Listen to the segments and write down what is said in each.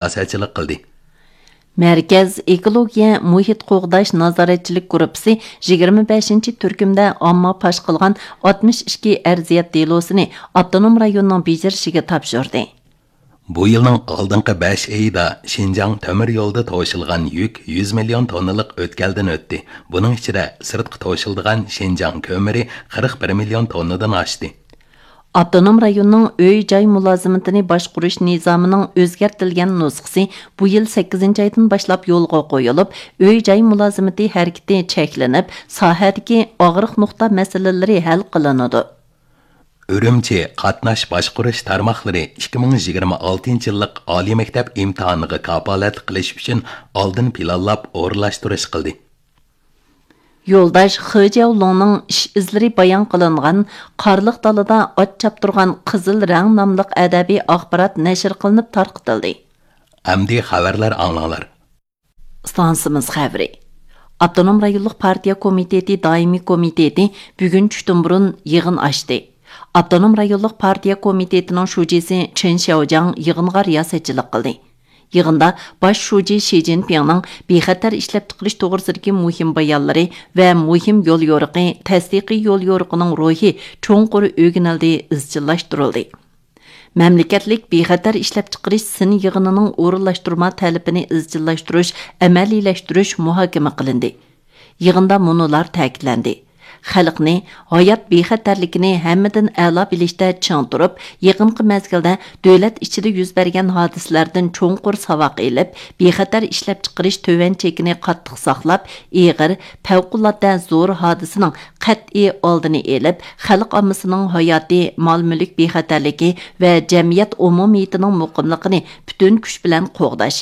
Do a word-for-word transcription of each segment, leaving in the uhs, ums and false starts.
رىياسەتچىلىك قىلدى. مەركەز ئېكولوگىيە مۇھىت قوغداش نازارەتچىلىك گۇرۇپپىسى يىگىرمە بەشىنچى تۈركۈمدە ئامما پاش قىلغان ئاتمىش ئىككى ئەرزىيەت دېلوسىنى ئاپتونوم رايوننىڭ بېجىرىشىگە تاپشۇردى. بۇ يىلنىڭ ئالدىنقى بەش ئېيىدا شىنجاڭ تۆمۈر يولىدا توشۇلغان يۈك يۈز مىليون توننىلىق ئۆتكەلدىن ئۆتتى. بۇنىڭ ئىچىدە سىرتقا توشۇلىدىغان شىنجاڭ كۆمۈرى قىرىق بىر مىليون توننىدىن ئاشتى. ئاپتونوم رايوننىڭ ئۆي-جاي مۇلازىمىتىنى باشقۇرۇش نىزامىنىڭ ئۆزگەرتىلگەن نۇسخىسى بۇ يىل سەككىزىنچى ئايدىن باشلاپ يولغا قويۇلۇپ، ئۆي-جاي مۇلازىمىتى ھەرىكىتى چەكلىنىپ، ساھەدىكى ئاغرىق نۇقتا مەسىلىلىرى ھەل قىلىنىدۇ. ئۈرۈمچى قاتناش باشقۇرۇش تارماقلىرى ئىككى مىڭ يىگىرمە ئالتىنچى يىللىق ئالىي مەكتەپ ئىمتىھانىغا كاپالەتلىك قىلىش ئۈچۈن ئالدىن پىلانلاپ ئورۇنلاشتۇرۇش قىلدى. يولداش خې جياۋلۇڭنىڭ ئىش ئىزلىرى بايان قىلىنغان قارلىق دالىدا ئات چاپتۇرغان قىزىل رەڭ ناملىق ئەدەبىي ئاخبارات نەشر قىلىنىپ تارقىتىلدى. ئەمدى خەۋەرلەر ئاڭلاڭلار. ئىستانسىمىز خەۋىرى. ئاپتونوم رايونلۇق پارتىيە كومىتېتى دائىمىي كومىتېتى بۈگۈن چۈشتىن بۇرۇن يىغىن ئاچتى. ئاپتونوم رايونلۇق پارتىيە كومىتېتىنىڭ شۇجىسى چېن شياۋجياڭ يىغىنغا رىياسەتچىلىك قىلدى. يىغىندا باش شۇجى شى جىنپىڭنىڭ بىخەتەر ئىشلەپچىقىرىش توغرىسىدىكى مۇھىم بايانلىرى ۋە مۇھىم يوليورۇقى، تەستىقىي يوليورۇقىنىڭ روھى چوڭقۇر ئۆگىنىلدى، ئىزچىللاشتۇرۇلدى. مەملىكەتلىك بىخەتەر ئىشلەپچىقىرىش سىن يىغىنىنىڭ ئورۇنلاشتۇرما تەلىپىنى ئىزچىللاشتۇرۇش، ئەمەلىيلەشتۈرۈش مۇھاكىمە قىلىندى. يىغىندا مۇنۇلار تەكىتلەندى: خەلقنى ھايات بىخەتەرلىكىنى ھەممىدىن ئەلا بىلىشتە چىڭ تۇرۇپ، يېقىنقى مەزگىلدە دۆلەت ئىچىدە يۈز بەرگەن ھادىسىلەردىن چوڭقۇر ساۋاق ئېلىپ، بىخەتەر ئىشلەپچىقىرىش تۆۋەن چېكىنى قاتتىق ساقلاپ، ئېغىر، پەۋقۇلئاددە زور ھادىسىنىڭ قەتئىي ئالدىنى ئېلىپ، خەلق ئاممىسىنىڭ ھاياتى، مال-مۈلۈك بىخەتەرلىكى ۋە جەمئىيەت ئومۇمىيىتىنىڭ مۇقىملىقىنى پۈتۈن كۈچ بىلەن قوغداش،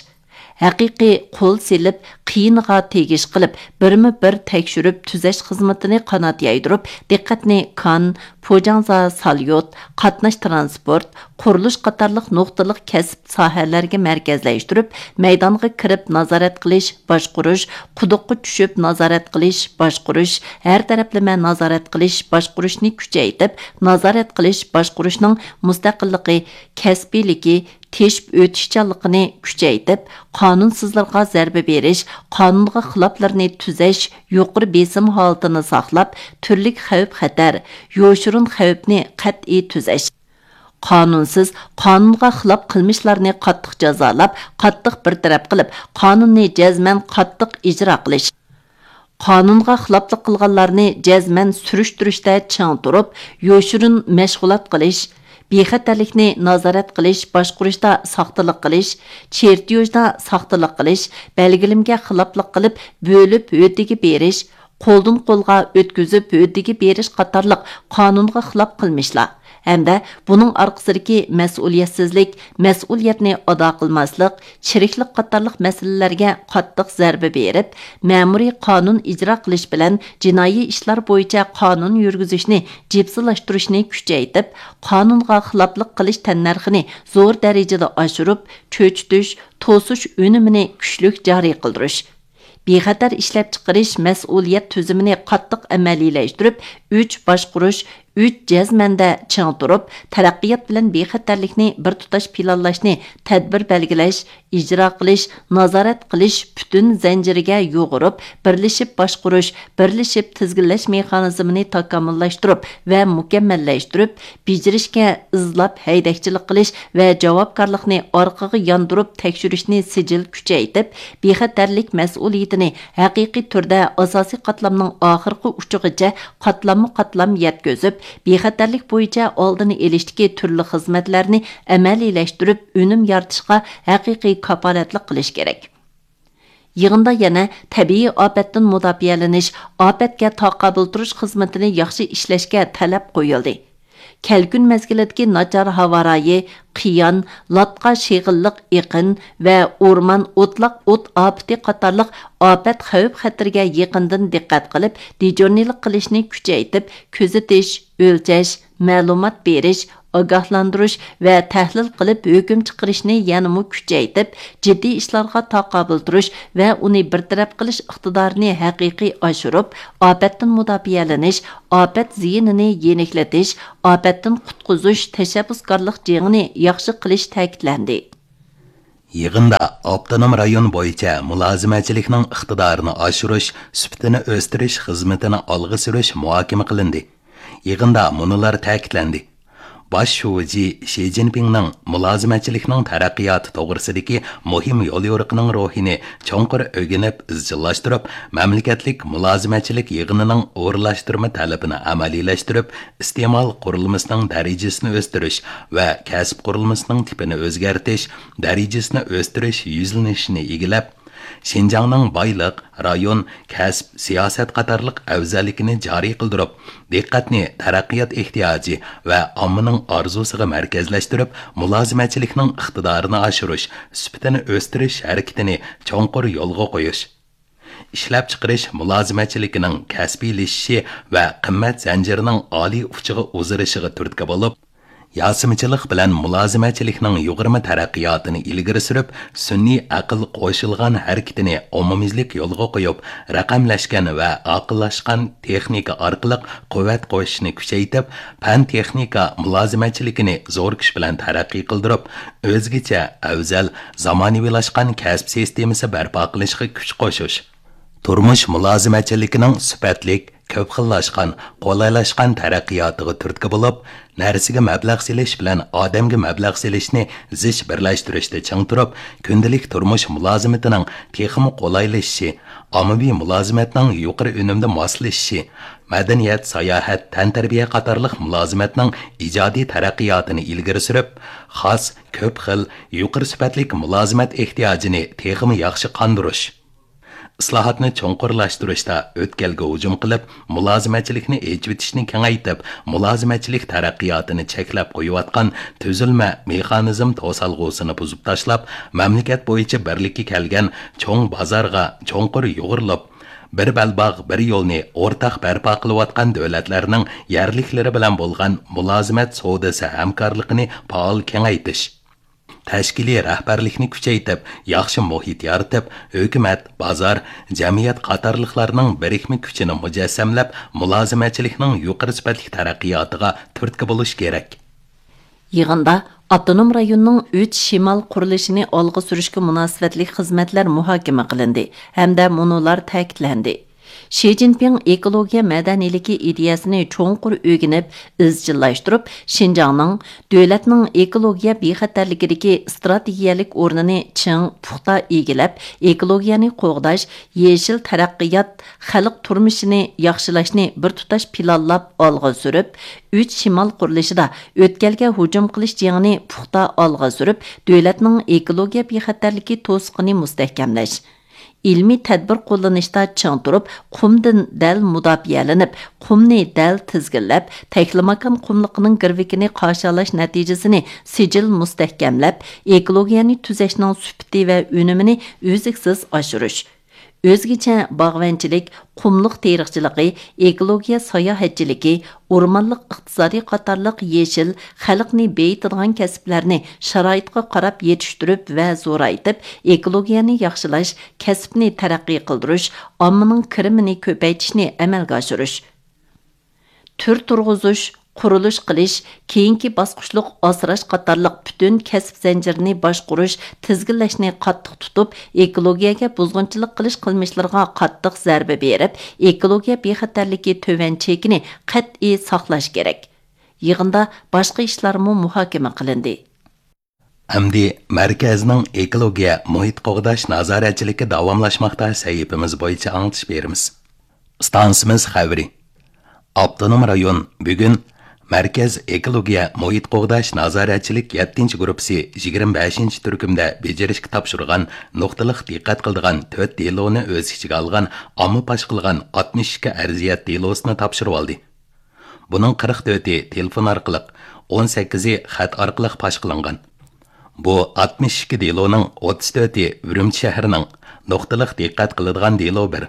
ھەقىقىي قول سېلىپ، قىيىنىغا تېگىش قىلىپ، بىرمۇ بىر تەكشۈرۈپ تۈزەش خىزمىتىنى قانات يايدۇرۇپ، دىققەتنى كان، پوجاڭزا ساليوت، قاتناش ترانسپورت، قۇرۇلۇش قاتارلىق نۇقتىلىق كەسىپ ساھەلەرگە مەركەزلەشتۈرۈپ، مەيدانغا كىرىپ نازارەت قىلىش، باشقۇرۇش، قۇدۇققا چۈشۈپ نازارەت قىلىش، باشقۇرۇش، ھەر تەرەپلىمە نازارەت قىلىش، باشقۇرۇشنى كۈچەيتىپ، نازارەت قىلىش، باشقۇرۇشنىڭ مۇستەقىللىقى، كەسپىيلىكى، تېشىپ ئۆتۈشچانلىقىنى كۈچەيتىپ، قانۇنسىزلارغا زەربە بېرىش، قانۇنغا خىلاپلارنى تۈزەش، يۇقىرى بېسىم ھالىتىنى ساقلاپ، تۈرلۈك خەۋپ-خەتەر، يوشۇرۇن خەۋپنى قەتئىي تۈزەش. قانۇنسىز، قانۇنغا خىلاپ قىلمىشلارنى قاتتىق جازالاپ، قاتتىق بىر تەرەپ قىلىپ، قانۇننى جەزمەن قاتتىق ئىجرا قىلىش. قانۇنغا خىلاپلىق قىلغانلارنى جەزمەن سۈرۈشتۈرۈشتە چىڭ تۇرۇپ، يوشۇرۇن مەشغۇلات قىلىش، بىخەتەرلىكنى نازارەت قىلىش، باشقۇرۇشتا ساختىلىق قىلىش، چېرتيوژدا ساختىلىق قىلىش، بەلگىلىمىگە خىلاپلىق قىلىپ، بۆلۈپ ھۆددىگە بېرىش، قولدىن قولغا ئۆتكۈزۈپ ھۆددىگە بېرىش قاتارلىق قانۇنغا خىلاپ قىلمىشلار ھەمدە بۇنىڭ ئارقىسىدىكى مەسئۇلىيەتسىزلىك، مەسئۇلىيەتنى ئادا قىلماسلىق، چىرىكلىك قاتارلىق مەسىلىلەرگە قاتتىق زەربە بېرىپ، مەمۇرىي قانۇن ئىجرا قىلىش بىلەن جىنايى ئىشلار بويىچە قانۇن يۈرگۈزۈشنى جىپسىلاشتۇرۇشنى كۈچەيتىپ، قانۇنغا خىلاپلىق قىلىش تەننەرخىنى زور دەرىجىدە ئاشۇرۇپ، چۆچۈتۈش، توسۇش ئۈنۈمىنى كۈچلۈك جارى قىلدۇرۇش. بىخەتەر ئىشلەپچىقىرىش مەسئۇلىيەت تۈزۈمىنى قاتتىق ئەمەلىيلەشتۈرۈپ، ئۈچ باشقۇرۇش، ئۈچ جەزمەندە چىڭ تۇرۇپ، تەرەققىيات بىلەن بىخەتەرلىكنى بىر تۇتاش پىلانلاشنى تەدبىر بەلگىلەش، ئىجرا قىلىش، نازارەت قىلىش پۈتۈن زەنجىرىگە يۇغۇرۇپ، بىرلىشىپ باشقۇرۇش، بىرلىشىپ تىزگىنلەش مېخانىزمىنى تاكامۇللاشتۇرۇپ ۋە مۇكەممەللەشتۈرۈپ، بېجىرىشكە ئىزلاپ ھەيدەكچىلىك قىلىش ۋە جاۋابكارلىقنى ئارقىغا ياندۇرۇپ تەكشۈرۈشنى سىجىل كۈچەيتىپ، بىخەتەرلىك مەسئۇلىيىتىنى ھەقىقىي تۈردە ئاساسىي قاتلامنىڭ ئاخىرقى ئۇچىغىچە قاتلاممۇ قاتلام يەتكۈزۈپ، بىخەتەرلىك بويىچە ئالدىنى ئېلىشتىكى تۈرلۈك خىزمەتلەرنى ئەمەلىيلەشتۈرۈپ، ئۈنۈم يارىتىشقا ھەقىقىي كاپالەتلىك قىلىش كېرەك. يىغىندا يەنە تەبىئىي ئاپەتتىن مۇداپىئەلىنىش، ئاپەتكە تاقابىل تۇرۇش خىزمىتىنى ياخشى ئىشلەشكە تەلەپ قويۇلدى. كەلكۈن مەزگىلىدىكى ناچار ھاۋا رايى، قىيان، لاتقا شېغىللىق ئېقىن ۋە ئورمان ئوتلاق ئوت ئاپىتى قاتارلىق ئاپەت خەۋپ-خەتىرىگە يېقىندىن دىققەت قىلىپ، دىجورنىلىق قىلىشنى كۈچەيتىپ، كۆزىتىش، ئۆلچەش، مەلۇمات بېرىش، ئاگاھلاندۇرۇش ۋە تەھلىل قىلىپ ھۆكۈم چىقىرىشنى يەنىمۇ كۈچەيتىپ، جىددىي ئىشلارغا تاقابىل تۇرۇش ۋە ئۇنى بىر تەرەپ قىلىش ئىقتىدارىنى ھەقىقىي ئاشۇرۇپ، ئاپەتتىن مۇداپىئەلىنىش، ئاپەت زىيىنىنى يېنىكلىتىش، ئاپەتتىن قۇتقۇزۇش تەشەببۇسكارلىق جېڭىنى ياخشى قىلىش تەكىتلەندى. يىغىندا ئاپتونوم رايون بويىچە مۇلازىمەتچىلىكنىڭ ئىقتىدارىنى ئاشۇرۇش، سۈپىتىنى ئۆستۈرۈش خىزمىتىنى ئالغا سۈرۈش مۇھاكىمە قىلىندى. يىغىندا مۇنۇلار تەكىتلەندى: باش شۇجى شى جىنپىڭنىڭ مۇلازىمەتچىلىكنىڭ تەرەققىياتى توغرىسىدىكى مۇھىم يوليورۇقىنىڭ روھىنى چوڭقۇر ئۆگىنىپ ئىزچىللاشتۇرۇپ، مەملىكەتلىك مۇلازىمەتچىلىك يىغىنىنىڭ ئورۇنلاشتۇرما تەلىپىنى ئەمەلىيلەشتۈرۈپ، ئىستېمال قۇرۇلمىسىنىڭ دەرىجىسىنى ئۆستۈرۈش ۋە كەسىپ قۇرۇلمىسىنىڭ تىپىنى ئۆزگەرتىش، دەرىجىسىنى ئۆستۈرۈش يۈزلىنىشىنى ئىگىلەپ، شىنجاڭنىڭ بايلىق، رايون، كەسىپ، سىياسەت قاتارلىق ئەۋزەللىكىنى جارى قىلدۇرۇپ، دىققەتنى تەرەققىيات ئېھتىياجى ۋە ئاممىنىڭ ئارزۇسىغا مەركەزلەشتۈرۈپ، مۇلازىمەتچىلىكنىڭ ئىقتىدارىنى ئاشۇرۇش، سۈپىتىنى ئۆستۈرۈش ھەرىكىتىنى چوڭقۇر يولغا قويۇش. ئىشلەپچىقىرىش مۇلازىمەتچىلىكىنىڭ كەسپىيلىشىشى ۋە قىممەت زەنجىرىنىڭ ئالىي ئۇچىغا ئۇزىرىشىغا تۈرتكە بولۇپ، ياسىمىچىلىق بىلەن مۇلازىمەتچىلىكنىڭ يۇغۇرما تەرەققىياتىنى ئىلگىرى سۈرۈپ، سۈنئىي ئەقىل قوشۇلغان ھەرىكىتىنى ئومۇميۈزلۈك يولغا قويۇپ، رەقەملەشكەن ۋە ئاقىللاشقان تېخنىكا ئارقىلىق قۇۋۋەت قوشۇشنى كۈچەيتىپ، پەن تېخنىكا مۇلازىمەتچىلىكىنى زور كۈچ بىلەن تەرەققىي قىلدۇرۇپ، ئۆزگىچە، ئەۋزەل، زامانىۋىلاشقان كەسىپ سىستېمىسى بەرپا قىلىشقا كۈچ قوشۇش. تۇرمۇش مۇلازىمەتچىلىكىنىڭ سۈپەتلىك، كۆپ خىللاشقان، قولايلاشقان تەرەققىياتىغا تۈرتكە بولۇپ، نەرسىگە مەبلەغ سېلىش بىلەن ئادەمگە مەبلەغ سېلىشنى زىچ بىرلەشتۈرۈشتە چىڭ تۇرۇپ، كۈندىلىك تۇرمۇش مۇلازىمىتىنىڭ تېخىمۇ قولايلىشىشى، ئاممىۋى مۇلازىمەتنىڭ يۇقىرى ئۈنۈمدە ماسلىشىشى، مەدەنىيەت، ساياھەت، تەنتەربىيە قاتارلىق مۇلازىمەتنىڭ ئىجادىي تەرەققىياتىنى ئىلگىرى سۈرۈپ، خاس، كۆپ خىل، يۇقىرى سۈپەتلىك مۇلازىمەت ئېھتىياجىنى تېخىمۇ ياخشى قاندۇرۇش. ئىسلاھاتنى چوڭقۇرلاشتۇرۇشتا ئۆتكەلگە ھۇجۇم قىلىپ، مۇلازىمەتچىلىكنى ئېچىۋېتىشنى كېڭەيتىپ، مۇلازىمەتچىلىك تەرەققىياتىنى چەكلەپ قويۇۋاتقان تۈزۈلمە، مېخانىزم توسالغۇسىنى بۇزۇپ تاشلاپ، مەملىكەت بويىچە بىرلىككە كەلگەن چوڭ بازارغا چوڭقۇر يۇغۇرۇلۇپ، بىر بەلباغ، بىر يولنى ئورتاق بەرپا قىلىۋاتقان دۆلەتلەرنىڭ يەرلىكلىرى بىلەن بولغان مۇلازىمەت سودىسى ھەمكارلىقىنى پائال كېڭەيتىش. تەشكىلىي رەھبەرلىكنى كۈچەيتىپ، ياخشى مۇھىت يارىتىپ، ھۆكۈمەت، بازار، جەمئىيەت قاتارلىقلارنىڭ بىرىكمە كۈچىنى مۇجەسسەملەپ، مۇلازىمەتچىلىكنىڭ يۇقىرى سۈپەتلىك تەرەققىياتىغا تۈرتكە بولۇش كېرەك. يىغىندا ئاپتونوم رايوننىڭ ئۈچ شىمال قۇرۇلۇشىنى ئالغا سۈرۈشكە مۇناسىۋەتلىك خىزمەتلەر مۇھاكىمە قىلىندى ھەمدە مۇنۇلار تەكىتلەندى. شى جىنپىڭ ئېكولوگىيە مەدەنىيلىكى ئىدىيەسىنى چوڭقۇر ئۆگىنىپ، ئىزچىللاشتۇرۇپ، شىنجاڭنىڭ دۆلەتنىڭ ئېكولوگىيە بىخەتەرلىكىدىكى ئىستراتېگىيەلىك ئورنىنى چىڭ، پۇختا ئىگىلەپ، ئېكولوگىيەنى قوغداش، يېشىل تەرەققىيات، خەلق تۇرمۇشىنى ياخشىلاشنى بىر تۇتاش پىلانلاپ ئالغا سۈرۈپ، ئۈچ شىمال قۇرۇلۇشىدا ئۆتكەلگە ھۇجۇم قىلىش جېڭىنى پۇختا ئالغا سۈرۈپ، دۆلەتنىڭ ئېكولوگىيە بىخەتەرلىكى توسۇقىنى مۇستەھكەملەش، ئىلمىي تەدبىر قوللىنىشتا چىڭ تۇرۇپ، قۇمدىن دەل مۇداپىئەلىنىپ، قۇمنى دەل تىزگىنلەپ، تەكلىماكان قۇملۇقىنىڭ گىرۋىكىنى قارشى ئالاش نەتىجىسىنى سىجىل مۇستەھكەملەپ، ئېكولوگىيەنى تۈزەشنىڭ سۈپىتى ۋە ئۈنۈمىنى ئۈزلۈكسىز ئاشۇرۇش. ئۆزگىچە باغۋەنچىلىك، قۇملۇق تېرىقچىلىقى، ئېكولوگىيە ساياھەتچىلىكى، ئورمانلىق ئىقتىسادى قاتارلىق يېشىل، خەلقنى بېيىتىدىغان كەسىپلەرنى شارائىتقا قاراپ يېتىشتۈرۈپ ۋە زورايتىپ، ئېكولوگىيەنى ياخشىلاش، كەسىپنى تەرەققىي قىلدۇرۇش، ئاممىنىڭ كىرىمىنى كۆپەيتىشنى ئەمەلگە ئاشۇرۇش. تۈر تۇرغۇزۇش، قۇرۇلۇش قىلىش، كېيىنكى باسقۇچلۇق ئاسراش قاتارلىق پۈتۈن كەسىپ زەنجىرىنى باشقۇرۇش، تىزگىنلەشنى قاتتىق تۇتۇپ، ئېكولوگىيەگە بۇزغۇنچىلىق قىلىش قىلمىشلىرىغا قاتتىق زەربە بېرىپ، ئېكولوگىيە بىخەتەرلىكى تۆۋەن چېكىنى قەتئىي ساقلاش كېرەك. يىغىندا باشقا ئىشلارمۇ مۇھاكىمە قىلىندى. ئەمدى مەركەزنىڭ ئېكولوگىيە مۇھىت قوغداش نازارەتچىلىكى داۋاملاشماقتا سەھىپىمىز بويىچە ئاڭلىتىش بېرىمىز. ئىستانسىمىز خەۋىرى. ئاپتونوم رايون بۈگۈن مەركەز ئېكولوگىيە مۇھىت قوغداش نازارەتچىلىك يەتتىنچى گۇرۇپپىسى يىگىرمە بەشىنچى تۈركۈمدە بېجىرىشكە تاپشۇرغان نۇقتىلىق دىققەت قىلىدىغان تۆت دېلونى ئۆز ئىچىگە ئالغان ئامما پاش قىلغان ئاتمىش ئىككى ئەرزىيەت دېلوسىنى تاپشۇرۇۋالدى. بۇنىڭ قىرىق تۆتى تېلېفون ئارقىلىق، ئون سەككىزى خەت ئارقىلىق پاش قىلىنغان. بۇ ئاتمىش ئىككى دېلونىڭ ئوتتۇز تۆتى ئۈرۈمچى شەھىرىنىڭ، نۇقتىلىق دىققەت قىلىدىغان دېلو بىر.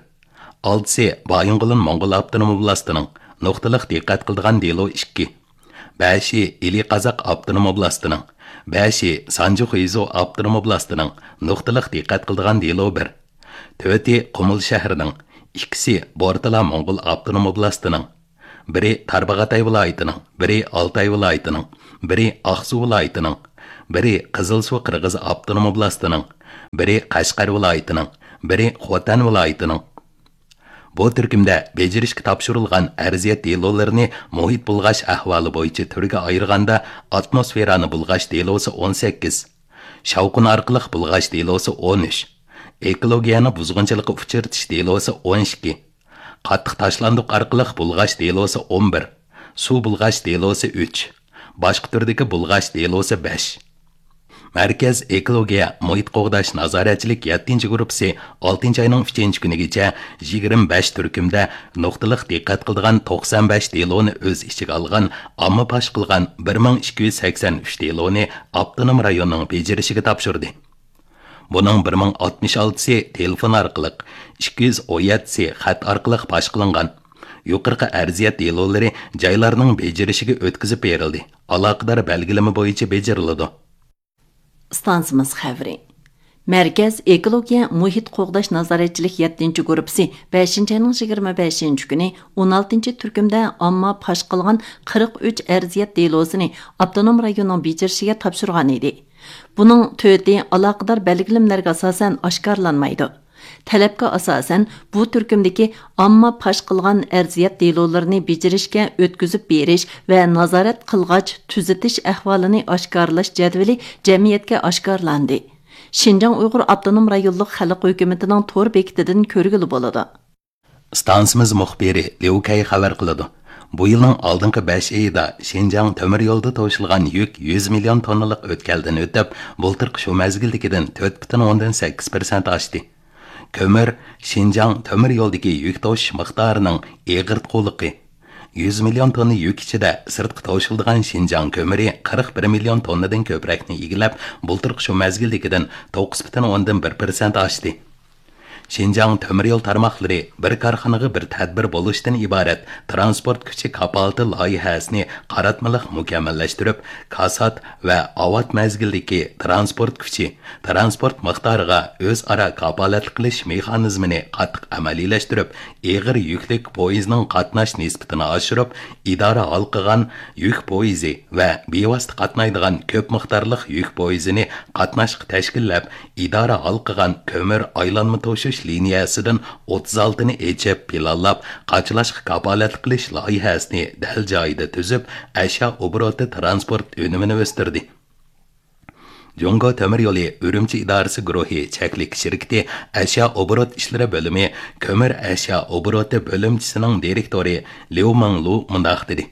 ئالتىسى بايىنغولىن موڭغۇل ئاپتونوم ئوبلاستىنىڭ، نۇقتىلىق دىققەت قىلىدىغان دېلو ئىككى. بەشى ئىلى قازاق ئاپتونوم ئوبلاستىنىڭ، بەشى سانجى خۇيزۇ ئاپتونوم ئوبلاستىنىڭ، نۇقتىلىق دىققەت قىلىدىغان دېلو بىر. تۆتى قۇمۇل شەھىرىنىڭ، ئىككىسى بورتالا موڭغۇل ئاپتونوم ئوبلاستىنىڭ، بىرى تارباغاتاي ۋىلايىتىنىڭ، بىرى ئالتاي ۋىلايىتىنىڭ، بىرى ئاقسۇ ۋىلايىتىنىڭ، بىرى قىزىلسۇ قىرغىز ئاپتونوم ئوبلاستىنىڭ، بىرى قەشقەر ۋىلايىتىنىڭ، بىرى خوتەن ۋىلايىتىنىڭ. بۇ تۈركۈمدە بېجىرىشكە تاپشۇرۇلغان ئەرزىيەت دېلولىرىنى مۇھىت بۇلغاش ئەھۋالى بويىچە تۈرگە ئايرىغاندا، ئاتموسفېرانى بۇلغاش دېلوسى ئون سەككىز، شاۋقۇن ئارقىلىق بۇلغاش دېلوسى ئون ئۈچ، ئېكولوگىيەنى بۇزغۇنچىلىققا ئۇچرىتىش دېلوسى ئون ئىككى، قاتتىق تاشلاندۇق ئارقىلىق بۇلغاش دېلوسى ئون بىر، سۇ بۇلغاش دېلوسى ئۈچ، باشقا تۈردىكى بۇلغاش دېلوسى بەش. مەركەز ئېكولوگىيە مۇھىت قوغداش نازارەتچىلىك يەتتىنچى گۇرۇپپىسى ئالتىنچى ئاينىڭ ئۈچىنچى كۈنىگىچە يىگىرمە بەش تۈركۈمدە نۇقتىلىق دىققەت قىلىدىغان توقسان بەش دېلونى ئۆز ئىچىگە ئالغان ئامما پاش قىلغان بىر مىڭ ئىككى يۈز سەكسەن ئۈچ دېلونى ئاپتونوم رايوننىڭ بېجىرىشىگە تاپشۇردى. بۇنىڭ بىر مىڭ ئاتمىش ئالتىسى تېلېفون ئارقىلىق، ئىككى يۈز ئون يەتتىسى خەت ئارقىلىق پاش قىلىنغان. يۇقىرىقى ئەرزىيەت دېلولىرى جايلارنىڭ بېجىرىشىگە ئۆتكۈزۈپ بېرىلدى، ئالاقىدار بەلگىلىمە بويىچە بېجىرىلىدۇ. ئىستانسىمىز خەۋىرى. مەركەز ئېكولوگىيە مۇھىت قوغداش نازارەتچىلىك يەتتىنچى گۇرۇپپىسى بەشىنچى ئاينىڭ يىگىرمە بەشىنچى كۈنى ئون ئالتىنچى تۈركۈمدە ئامما پاش قىلغان قىرىق ئۈچ ئەرزىيەت دېلوسىنى ئاپتونوم رايوننىڭ بېجىرىشىگە تاپشۇرغان ئىدى. بۇنىڭ تۆتى ئالاقىدار بەلگىلىمىلەرگە ئاساسەن ئاشكارىلانمايدۇ. تەلەپكە ئاساسەن، بۇ تۈركۈمدىكى ئامما پاش قىلغان ئەرزىيەت دېلولىرىنى بېجىرىشكە ئۆتكۈزۈپ بېرىش ۋە نازارەت قىلغاچ تۈزىتىش ئەھۋالىنى ئاشكارىلاش جەدۋىلى جەمئىيەتكە ئاشكارىلاندى. شىنجاڭ ئۇيغۇر ئاپتونوم رايونلۇق خەلق ھۆكۈمىتىنىڭ تور بېكىتىدىن كۆرگىلى بولىدۇ. ئىستانسىمىز مۇخبىرى ليۇ كەي خەۋەر قىلىدۇ. بۇ يىلنىڭ ئالدىنقى بەش ئېيىدا شىنجاڭ تۆمۈر يولىدا توشۇلغان يۈك يۈز مىليون توننىلىق ئۆتكەلدىن ئۆتۈپ، بۇلتۇرقى شۇ مەزگىلدىكىدىن تۆت پۈتۈن ئوندىن سەككىز پىرسەنت ئاشتى. كۆمۈر شىنجاڭ تۆمۈر يولىدىكى يۈك توشۇش مىقدارىنىڭ ئېغىرتقۇلۇقى. يۈز مىليون توننا يۈك ئىچىدە سىرتقا توشۇلىدىغان شىنجاڭ كۆمۈرى قىرىق بىر مىليون توننىدىن كۆپرەكنى ئىگىلەپ، بۇلتۇرقى شۇ مەزگىلدىكىدىن توققۇز پۈتۈن ئوندىن بىر پىرسەنت ئاشتى. شىنجاڭ تۆمۈر يول تارماقلىرى بىر كارخانىغا بىر تەدبىر بولۇشتىن ئىبارەت تىرانسپورت كۈچى كاپالىتى لايىھەسىنى قاراتمىلىق مۇكەممەللەشتۈرۈپ، كاسات ۋە ئاۋات مەزگىلدىكى تىرانسپورت كۈچى، تىرانسپورت مىقدارىغا ئۆزئارا كاپالەتلىك قىلىش مېخانىزمىنى قاتتىق ئەمەلىيلەشتۈرۈپ، ئېغىر يۈكلۈك پويىزنىڭ قاتناش نىسبىتىنى ئاشۇرۇپ، ئىدارە ھالقىغان يۈك پويىزى ۋە بىۋاسىتە قاتنايدىغان كۆپ مىقدارلىق يۈك پويىزىنى قاتناشقا تەشكىللەپ، ئىدارە ھالقىغان كۆمۈر ئايلانما توشۇش لىنىيەسىدىن ئوتتۇز ئالتىنى ئېچىپ پىلانلاپ، قاچىلاشقا كاپالەتلىك قىلىش لايىھەسىنى دەل جايىدا تۈزۈپ، ئەشيا ئوبوروتى تىرانسپورت ئۈنۈمىنى ئۆستۈردى. جۇڭگو تۆمۈر يولى ئۈرۈمچى ئىدارىسى گۇرۇھى چەكلىك شىركىتى ئەشيا ئوبوروت ئىشلىرى بۆلۈمى كۆمۈر ئەشيا ئوبوروتى بۆلۈمچىسىنىڭ دىرېكتورى ليۇ مىڭلۇ مۇنداق دېدى: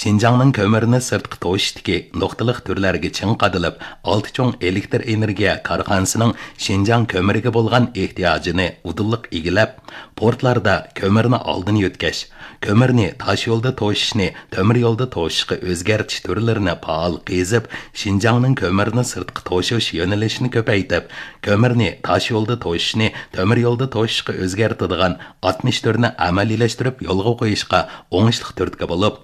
شىنجاڭنىڭ كۆمۈرنى سىرتقا توشۇشتىكى نۇقتىلىق تۈرلەرگە چىڭ قادىلىپ، ئالتە چوڭ ئېلېكتر ئېنېرگىيە كارخانىسىنىڭ شىنجاڭ كۆمۈرىگە بولغان ئېھتىياجىنى ئۇدۇللۇق ئىگىلەپ، پورتلاردا كۆمۈرنى ئالدىن يۆتكەش، كۆمۈرنى تاشيولدا توشۇشنى تۆمۈر يولدا توشۇشقا ئۆزگەرتىش تۈرلىرىنى پائال قېزىپ، شىنجاڭنىڭ كۆمۈرنى سىرتقا توشۇش يۆنىلىشىنى كۆپەيتىپ، كۆمۈرنى تاشيولدا توشۇشنى تۆمۈر يولدا توشۇشقا ئۆزگەرتىدىغان ئاتمىش تۈرنى ئەمەلىيلەشتۈرۈپ يولغا قويۇشقا ئوڭۇشلۇق تۈرتكە بولۇپ،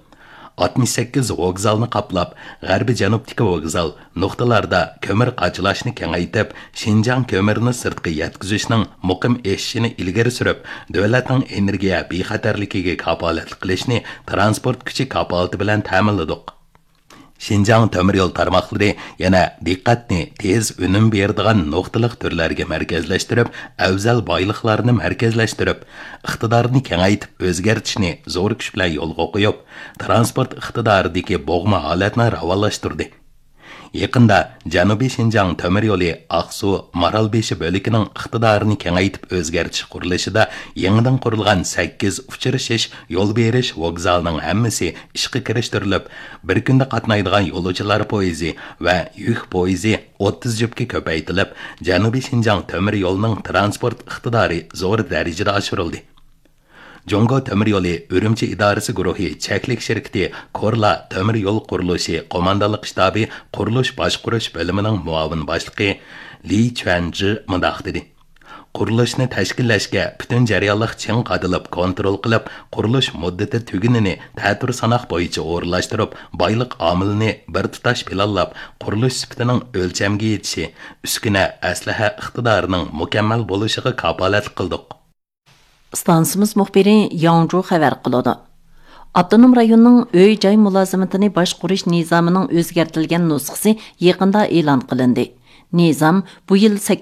ئاتمىش سەككىز ۋوگزالنى قاپلاپ، غەربىي جەنۇبتىكى ۋوگزال نۇقتىلاردا كۆمۈر قاچىلاشنى كېڭەيتىپ، شىنجاڭ كۆمۈرنى سىرتقا يەتكۈزۈشنىڭ مۇقىم ئېشىشىنى ئىلگىرى سۈرۈپ، دۆلەتنىڭ ئېنېرگىيە بىخەتەرلىكىگە كاپالەتلىك قىلىشنى تىرانسپورت كۈچى كاپالىتى بىلەن تەمىنلىدۇق. شىنجاڭ تۆمۈر يول تارماقلىرى يەنە دىققەتنى تېز ئۈنۈم بېرىدىغان نۇقتىلىق تۈرلەرگە مەركەزلەشتۈرۈپ، ئەۋزەل بايلىقلارنى مەركەزلەشتۈرۈپ، ئىقتىدارنى كېڭەيتىپ ئۆزگەرتىشنى زور كۈچ بىلەن يولغا قويۇپ، تىرانسپورت ئىقتىدارىدىكى بوغما ھالەتنى راۋانلاشتۇردى. يېقىندا جەنۇبىي شىنجاڭ تۆمۈر يولى ئاقسۇ، مارالبېشى بۆلىكىنىڭ ئىقتىدارىنى كېڭەيتىپ ئۆزگەرتىش قۇرۇلۇشىدا يېڭىدىن قۇرۇلغان سەككىز ئۇچرىشىش، يول بېرىش ۋوگزالىنىڭ ھەممىسى ئىشقا كىرىشتۈرۈلۈپ، بىر كۈندە قاتنايدىغان يولۇچىلار پويىزى ۋە يۈك پويىزى ئوتتۇز جۈپكە كۆپەيتىلىپ، جەنۇبىي شىنجاڭ تۆمۈر يولىنىڭ تىرانسپورت ئىقتىدارى زور دەرىجىدە ئاشۇرۇلدى. جۇڭگو تۆمۈر يولى ئۈرۈمچى ئىدارىسى گۇرۇھى چەكلىك شىركىتى كورلا تۆمۈر يول قۇرۇلۇشى قوماندانلىق شتابى قۇرۇلۇش باشقۇرۇش بۆلۈمىنىڭ مۇئاۋىن باشلىقى لى چۈەنجى مۇنداق دېدى: قۇرۇلۇشنى تەشكىللەشكە پۈتۈن جەريانلىق چىڭ قادىلىپ كونترول قىلىپ، قۇرۇلۇش مۇددىتى تۈگىنىنى تەتۈر ساناق بويىچە ئورۇنلاشتۇرۇپ، بايلىق ئامىلىنى بىر تۇتاش پىلانلاپ، قۇرۇلۇش سۈپىتىنىڭ ئۆلچەمگە يېتىشى، ئۈسكۈنە، ئەسلىھە ئىقتىدارىنىڭ مۇكەممەل بولۇشىغا كاپالەتلىك قىلدۇق. ئىستانسىمىز مۇخبىرى ياڭجۇ خەۋەر قىلىدۇ. ئاپتونوم رايوننىڭ ئۆي-جاي مۇلازىمىتىنى باشقۇرۇش نىزامىنىڭ ئۆزگەرتىلگەن نۇسخىسى يېقىندا ئېلان قىلىندى. نىزام بۇ يىل سەككىز